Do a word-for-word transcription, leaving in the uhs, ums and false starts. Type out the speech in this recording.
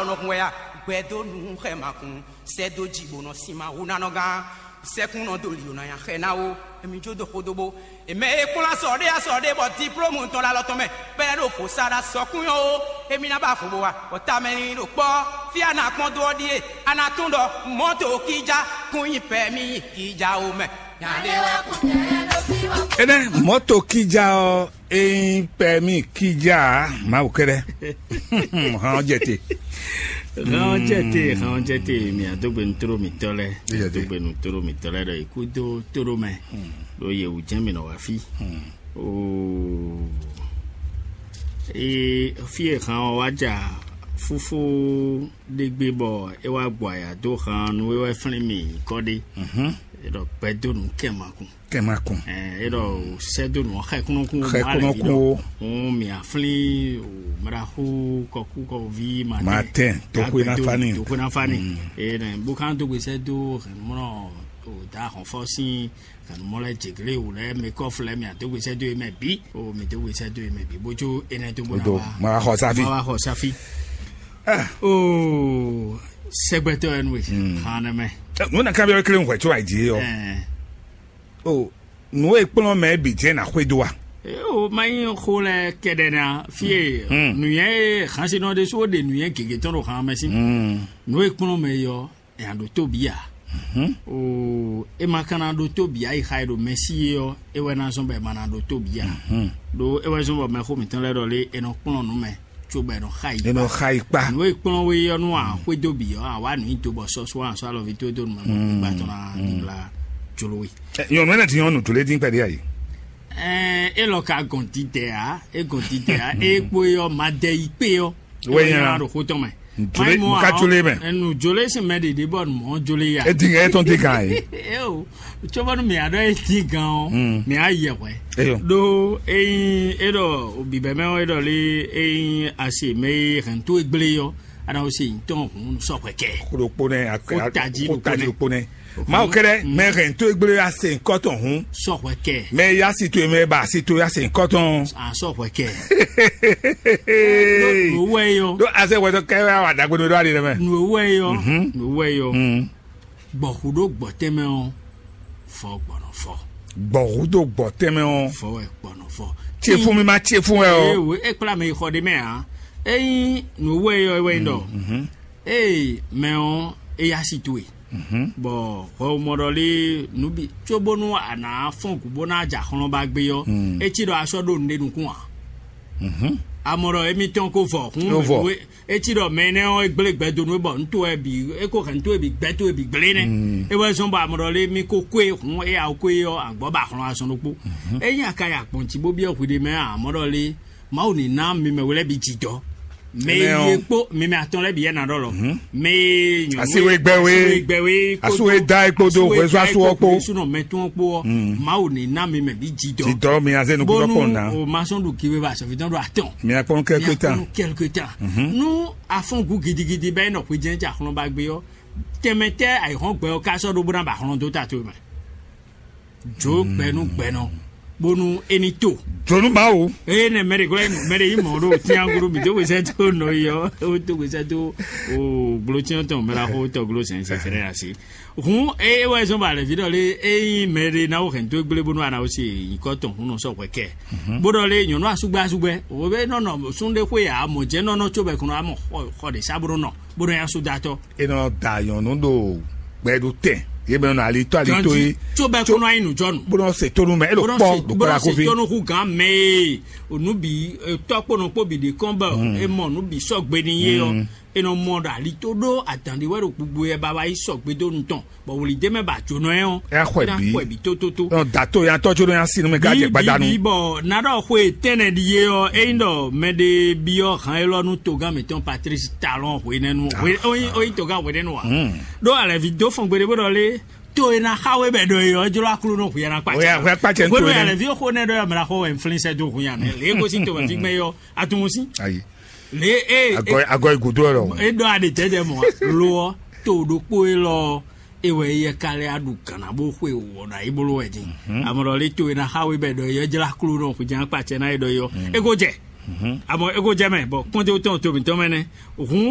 Nɔ hun wɛ ya, gbɛ dó nu xɛ ma kun, sɛ dó ji bó nɔ sin ma hu ná nɔ gán, sɛkún nɔ dó li ná nya xɛ ná wo, emi jó dó xódó bó. Èmɛ e kplɔ́n asɔ ɖé asɔ ɖé bɔ diplôme tɔn ɖo alɔ tɔn mɛ, bɛlɛ ɖo fo sa ɖo asɔkún nyɔ o, emi ná ba fo bó wa, bɔ tamɛ ní ɖo kpɔ́, fí a nǎ kpɔ́n dó ɔ́ ɖíe, a nǎ tún ɖɔ mɔ̌to kíjá kún nyi pɛ mì kíjá o mɛ. Nya ɖé wá kún nyɛ ɖo fí wá. Enɛ mɔto kija ɔ, eyin pɛ mi kija, Mawu kɛɖɛ. Hɔn jɛte. Hɔn jɛte, hɔn jɛte, mi adogbe nutoro mitɔ lɛ. Adogbe nutoro mitɔ lɛ ɖɔ ikú dó toro mɛ. Ɖo yewu jɛn mi nɔ wá fí. Oo. Ee, fí e han ɔ wá ja fúfú ɖé gbé bɔ é wá gbɔ aya dó han nú é wɛ flín mì nyǐkɔ ɖé. É ɖɔ gbɛdó nǔ kɛn ma kun. Kɛn ma kun. Ɛ, é ɖɔ sɛ́dó nǔ ɔ́ xɛkúnɔkún. Xɛkúnɔkún o. Hún mì aflín o mraxú kɔkú kɔví matɛn. Matɛn, toxwé ná fani. Toxwé ná fani. Ɛ nɛ bó kán dó gbe sɛ́dó hɛnmɔnɔ o da hɔnfɔ sín hɛnmɔ lɛ jegléwu lɛ mɛ kɔfu lɛ mì adó gbe sɛ́dó é mɛ bí o mì dó gbe sɛ́dó é mɛ bí bójú énɛ́ dó bó ná Odo wá. Ma wá xɔ sáfi. Ma wá xɔ sáfi. Ah. O sɛgbɛtɔ ɛnu e hàn nɛ mɛ. Nuna kan bɛ kelen hwɛ tso ayi di yɔ. Ɛɛ. O nu e kplɔn mɛ bi jɛ na xwe do wa. O ma yi xo lɛ kɛɖɛ na fie. Nuyɛ hansinɔ de so de nuyɛ gege tɔn do hàn mɛ si. Nu e kplɔn mɛ yɔ nya ɖo tóbi a? O e ma ka na ɖo tóbi a yi xa e ɖo mɛsi e ɔ e wɛ na zɔn bɔ e ma na ɖo tóbi a? Ɖo e wɛ zɔn bɔ mɛxó mǐtɔn lɛ́ɛ ɖɔ lé e nɔ kplɔ́n nǔ mɛ, cóbɔ e nɔ xa yi. E nɔ xa yi kpa. Nǔ e kplɔ́n we ɔ́ nú a xwedó bǐ ɔ́, a wá nǔ nyi do bɔ sɔ́ sɔ́ a sɔ́ alɔví towe dó nǔ mɛ bɔ gbígbá tɔn ná ɖibla jló we. Nyɔ̌nu ɛnɛ ti nyɔ́nu jló dín kpɛɖé a yi. Ɛɛ, e lɔ ka gɔn didɛ a, e gɔn didɛ a, e kpo e ɔ́ ma dɛ yi kpé ɔ́. Wɛ nyina ɖo xó tɔn mɛ. Jolé, mo ka jolé mɛ. Enu jolé sin mɛ ɖeɖe bɔ mɔ jolé ya. E din e tɔn din kan ye. Eo, tso bɔ nu mi aɖɔ e din gan o, mi a yɛ hwɛ. Eyo. Ɖo eyin e ɖɔ bibɛ mɛ o e ɖɔ le eyin asi mɛ e hɛn to egble yɔ, ana o se yin tɔn hun sɔxwɛ kɛ. Ko ɖo kpo nɛ, ko taji ɖo kpo nɛ. Mawu kɛɖɛ mɛ hɛn to egble ya se nkɔ tɔn hun. Sɔxwɛ kɛ. Mɛ ya si to mɛ ba si to ya se nkɔ tɔn. A sɔxwɛ kɛ. Nǔ wɛ yɔ. Ɖó azɛ wɛtɔ kɛ wɛ awa dagbe ɖo ɖo ali ɖe mɛ. Nǔ wɛ yɔ. Nǔ wɛ yɔ. Gbɔxu ɖo gbɔ tɛmɛ ɔ, fɔ gbɔnɔ fɔ. Gbɔxu ɖo gbɔ tɛmɛ ɔ. Fɔ wɛ gbɔnɔ fɔ. Tse fún mi ma tse fún wɛ o. Ee, e kplá mi xɔ ɖe mɛ a. Eyin nǔ wɛ yɔ wɛ ɖɔ. Ee, mɛ ɔ, e ya si to e. Bɔ hwɛwumɔ ɖɔ lé nǔ bǐ cóbónú a nǎ fɔ́n gǔ bó ná ja xlɔ́n ba gbé ɔ́, é cí ɖɔ a sɔ́ ɖo nǔɖé nukún ǎ. Amɔ ɖɔ émítɔn ko vɔ hún. Etí ɖɔ mɛ énɛ́ ɔ́, é gblé gbɛ dó nú we bɔ nǔ towe bǐ é ko hɛn nǔ towe bǐ gbɛ́ towe bǐ gblé nɛ́. É wɛ zɔ́n bɔ amɔ ɖɔ lé mì ko kwé hǔn é awu kwé ɔ́, agbɔ̌ ba hlɔn azɔn ɖokpó. Ényí a ka yi agbɔ̌n jí bó byɔ́ hwiɖe mɛ ǎ, amɔ̌ ɖɔ lé Mawu ní ná mi mɛ we lɛ́ɛ bǐ jǐdɔ́. Mɛ e yi e kpó mi mɛ atɔn lɛ́ɛ bǐ yɛ ná ɖɔ lɔ. Mɛ e nyɔ̌nu Asi we gbɛ we. Asi we gbɛ we Asu e da e kpodo hwɛzɔ́ asu ɔ́ kpo. Sunɔ mɛ tɔn kpó ɔ́, Mawu ní ná mi mɛ bǐ jǐdɔ́. Jǐdɔ́ mi azé nukúnɔ Bónú kpɔn ná. O ma sɔn ɖu kiwe ba sɔfitɔn ɖo atɔn. Mi akpɔn kɛlkwe tán. Kɛlkwe tán. Nú afɔn gu gidigidi bɛ nɔ xwe jɛn ja xlɔn ba gbé ɔ́, tɛnmɛ tɛ ayǐhɔ́n gbɛ ɔ́ ka sɔ́ ɖó bó ná ba xlɔn dó ta towe mɛ. Jó gbɛ nú gbɛ nɔ, bónú é ní to. Jonu Mawu. Eye nɛ mɛ ɖe glɔ́ mɛ ɖe yi mɔ ɖo tianguru mi dó wezɛ tó nɔ yi ɔ, ó dó wezɛ tó o gblócyɔn tɔn mɛ la xó tɔ gló sɛn sɛ fɛnɛ asi. Hun eye wɛ zɔn ba lɛ vi ɖɔ lé eyi mɛ ɖe na wo hɛn tó gblé bónú ana wo se nyikɔ tɔn hun nɔ sɔ hwɛ kɛ. Bó ɖɔ lé nyɔnu asugbɛ asugbɛ o bɛ nɔ nɔ sun ɖe xwe ya mɔ jɛ nɔ nɔ tso bɛ kɔnɔ amɔ xɔ xɔ ɖe sa bó nɔ nɔ bó nɔ ya so datɔ. E nɔ da nyɔnu ɖo gbɛɖutɛn ye mɛ nɔ alitɔ alitɔ ye. Tso bɛ kɔnɔ ayi nujɔnu. Bó nɔ se tónu mɛ e ɖo kpɔ ɖo kpɔ la kofi. Tɔnu hu gan mɛ ye onu bi tɔ kpɔnɔ kpɔ bi de kɔn bɛ e mɔ nu bi sɔgbe ni ye ɔ e nɔ mɔ ɖo alitɔ ɖo adan ɖi wɛ ɖo gbogbo yɛ baba yi sɔgbe do nu tɔn bɔ wòlí de mɛ ba jonɔ yɛ ɔ. Ɛ xɔ bi xɔ bi tótótó. Nɔ da to ya tɔ tso ɖo ya sinu mɛ gajɛ gbadanu. Bi bɔ na ɖɔ xwe tɛnɛ ɖi ye ɔ eyin ɖɔ mɛ ɖe bi ɔ han elɔ nu togan mɛtɔn Patrice Talon hwenɛnu oyin togan hwenɛnu wa. Ɖó alɛvi dó fɔn gbeɖe bó ɖɔ lé to e na xa we bɛ ɖɔ e ɔ jlo aklo nɔ hwiɛ na kpa Oya hwɛ kpa cɛ n to Gbɔdɔ yɛ. Alɛvi xo nɛ ɖɔ yɛ mla xɔ wɛ nflin sɛ do hun ya mɛ le ko si to wɛ fi gbɛ yɔ atunmu si. Ayi. Le e Agɔ agɔ igudo lɔ. E ɖɔ aɖe tɛtɛ mɔ lo ɔ to ɖokpo e lɔ e wɛ yɛ ka lɛ aɖu gana bó xwe wɔ ɖo ayi bolo wɛ din. Amɔ ɖɔ le to e na xa we bɛ ɖɔ yɔ jla klo nɔ xwe jan kpa cɛ na e ɖɔ yɔ. E ko jɛ. Amɔ e ko jɛ mɛ bɔ kpɔnte tɔn to mi tɔn mɛ nɛ. Hun